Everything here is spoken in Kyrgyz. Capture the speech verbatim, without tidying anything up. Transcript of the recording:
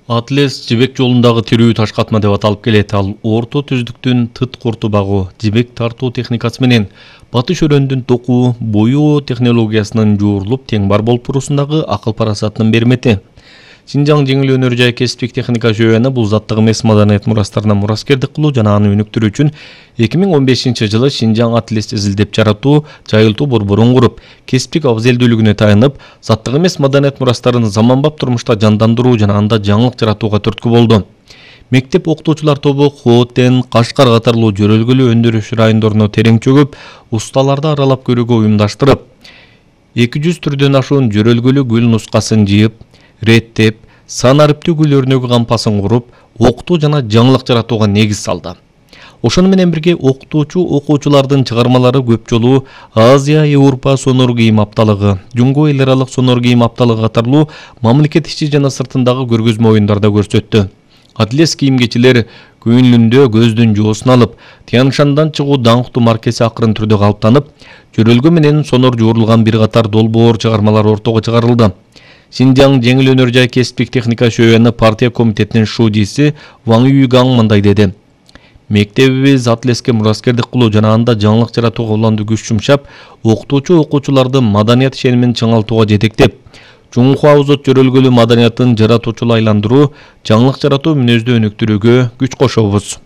Атлес жибек жолундагы тирүү таш катма деп аталып келет. Ал орто түздүктүн тыт курту багуу, жибек тартуу техникасы менен батыш өрөөндүн токуу, боюу технологиясынын жуурулуп тең бар болуп туруусундагы акыл парасатынын бермети. Шинжаң жеңил өнөр жай кесиптик техника жүйөнү бул заттык эмес маданият мурастарына мураскердик кылуу жана аны өнүктүрүү үчүн эки миң он бешинчи жылы Шинжаң Атлес изилдеп жаратуу, жайылтуу борборун куруп, кесиптик абзелдүүлүгүнө таянып, заттык эмес маданият мурастарын заманбап турмушта жандандыруу жана анда жаңылык жаратууга түрткү болду. Мектеп окутуучулар тобу Хотен, Кашкар катарлуу жөрөлгөлүү өндүрүш райондоруна терең чөгүп, усталарды аралап көрүүгө уюмдаштырып, эки жүз түрдөн ашуун жөрөлгөлүү гүл нускасын жыйып, реттеп, сан ариптүү гүл өрнөгү кампасын куруп, окутуу жана жаңылык жаратууга негиз салды. Ошону менен бирге окутуучу окуучулардын чыгармалары көп жолу Азия Европа сонор кийим апталыгы, Жунго эл аралык сонор кийим апталыгы катарлуу мамлекет ичи жана сыртындагы көргөзмө оюндарда көрсөттү. Атлес кийимчилер көңүлүндө көздүн жоосун алып, Тяншандан чыгуу даңктуу маркеси акырын түрдө калыптанып, жөрөлгө менен сонор жуурулган бир катар долбоор чыгармалар ортого чыгарылды. Шинжаң жеңил өнөр жай кесиптик техника жүйөнү партия комитетинин шудиси Ваң Юйгаң мындай деди. Мектебибиз Атлеске мураскердик кылуу жана анда жаңылык жаратууга уланды күч жумшап, окутуучу окуучуларды маданият ишенимин чыңалтууга жетектеп, Чуңхуа Озот жөрөлгөлүү маданиятын жаратуучулу айландыруу, жаңылык жаратуу мүнөздү өнүктүрүүгө күч кошобуз.